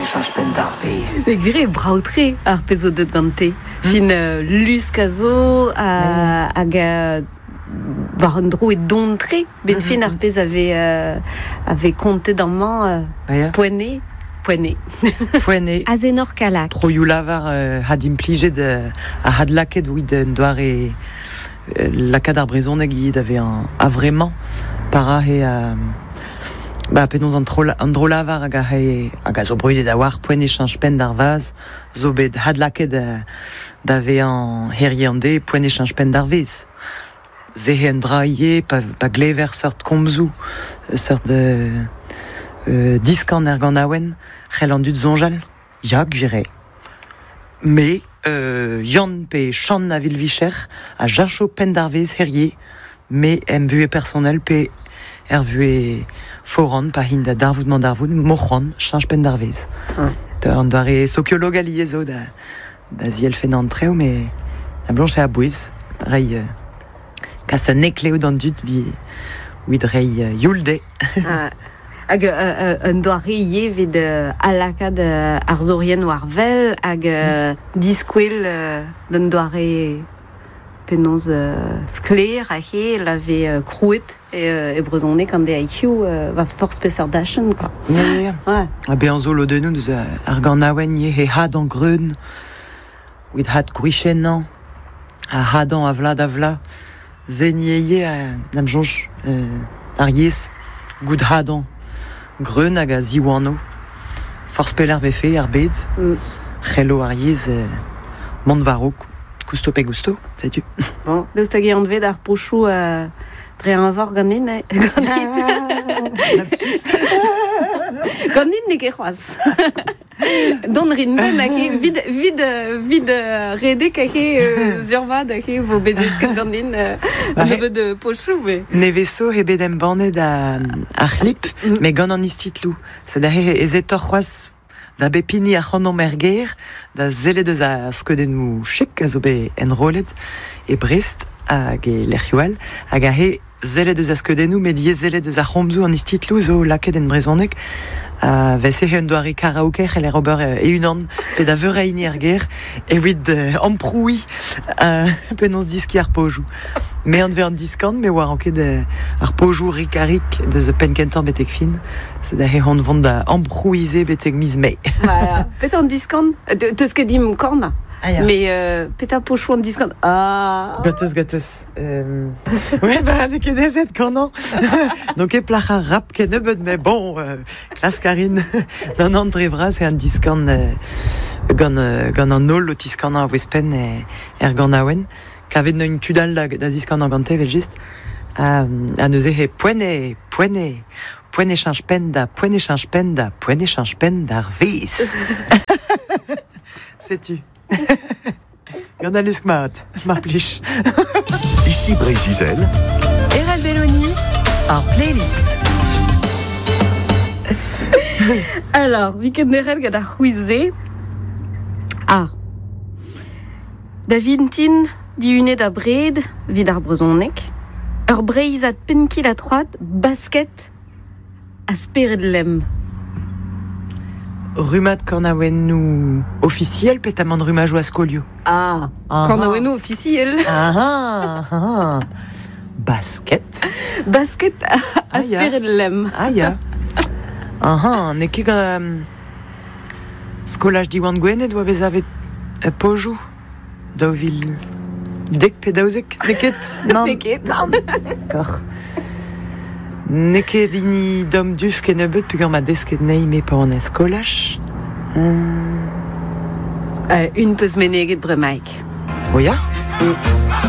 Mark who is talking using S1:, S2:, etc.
S1: e cheñch penn d'ar vezh.
S2: E gwir eo brav-tre ar pezh zo deuet gante. Fin lusk a zo hag war un dro e don-tre. Ben fin ar pezh a vez a vez kontet amañ poent eo. Poent eo.
S3: Poent eo.
S4: Azenor Kallag.
S3: Troioù lavar hadimplijet ha hadlakaet evit un doare lakaat ar brezhoneg ivez da vezañ a-vremañ pa ra he ba penaos an tro an dro-lavar hag a hag a zo brudet a-walc'h poent e cheñch penn d'ar vazh zo bet hadlakaet da vezañ herie an deiz poent e cheñch penn d'ar vezh. Se eo un dra ivez pa pa glever seurt komzoù seurt diskan er ganaouenn c'hell an dud soñjal ya gwir eo. Me, Yann pe Chann a vil vicher, a jacho penn d'ar vezh herie, me em buhez personel pe er vuhez foran pa hin da darvoud-mañ-darvoud, m'o c'hoant cheñch penn d'ar vezh. An doare sokiolog alies zo da, da zielfennañ an traoù, met da bloñch eo a-bouez reiñ kas un heklev d'an dud evit reiñ youl dezhe.
S2: Hag un doare ivez evit adlakaat arzourien war wel hag diskwel d'un doare penaos sklaer aze la vez krouet e brezhoneg an deiz war forzh peseurt dachenn quoi.
S3: Ya, ya, ya.
S2: Ouais.
S3: Ha bezañ zo lodennoù deus ar ganaouenn ivez he hadañ greun, evit had gwriziennañ, ha hadañ a vloaz da vloaz. Se ni ivez, da'm soñj, ar yezh, goût hadañ greun hag a ziwano. Forzh pelec'h 'vefe ar bed, c'hello ar yezh mont war-raok, kousto pe gousto, setu.
S2: Bon, daoust hag eo anvet ar pochoù dre eñvor ganin, eh? Ganit.
S3: Lapsus.
S2: Ganin n'eo ket c'hoazh. Dont rin ben hag he vid vid vid redek hag he survat hag he vo bet desket ganin un nebeud pochoù mais
S3: Nevez zo eo bet embannet ar c'hlip, met gant an istitloù. Sed aze ezetoc'h c'hoazh da bep hini ac'hanomp er gêr da sellet eus ar skeudennoù chik a zo bet enrollet e Brest hag e lec'hioù all hag aze sellet eus ar skeudennoù met ivez sellet eus ar c'homzoù an istitloù zo lakaet en brezhoneg a veze un doare karaoke c'heller ober e-unan pe da veur a hini er gêr evit amprouiñ penaos diskiñ ar pozioù. Me anvez an diskan, me oar ket ar pozioù rik-ha-rik deus penn-kentañ betek fin. Sed aze hon vont da amprouiñ se betek miz Mae.
S2: Voilà. Petra an diskan? Teus ket dimp kornañ.
S3: Ah, ya.
S2: Mais petra pochoù an diskan? Ah.
S3: Gatoz, gatoz. Ouais, bah, n'eo ket aezet kanañ. N'on ket plac'h ar rap kennebeut, mais bon, klask a rin. D'an an dre vras eo an diskan gant, gant an holl o tiskanañ a-bouez-penn er ganaouenn. Kavet n'eun tud all da, da ziskanañ gante, evel-just. Ha neuze he poent eo, poent eo, poent e cheñch penn da, poent e cheñch penn da, poent e cheñch penn d'ar vezh. Setu. Gant al lusk mat, mar plij.
S1: Ici Breizh-Izel.
S4: Erel Belloni, ar playlist.
S2: Alors, vi ket derc'hel gant ar c'hwiz-se. Ah. Da vintin, dihunet abred 'vit ar brezhoneg, ur Breizhad penn-kil-ha-troad, basket ha spered lemm.
S3: Rummad kanaouennoù ofisiel petamant rummajoù a skolioù?
S2: Ah, kanaouennoù ofisiel.
S3: Ah, ah, basket.
S2: Basket ha spered lemm.
S3: Ah ya. Ah, n'eo ket gant skolaj Diwan Gwened oa bet savet pojoù 2010 pe 12, n'eo ket?
S2: Nann. N'eo ket.
S3: Nann. D'accord. N'eo ket hini Dom Duff kennebeut peogwir 'ma desket anezhi me pa oan er skolaj.
S2: Un peus meneget bremaik.
S3: Oh ya?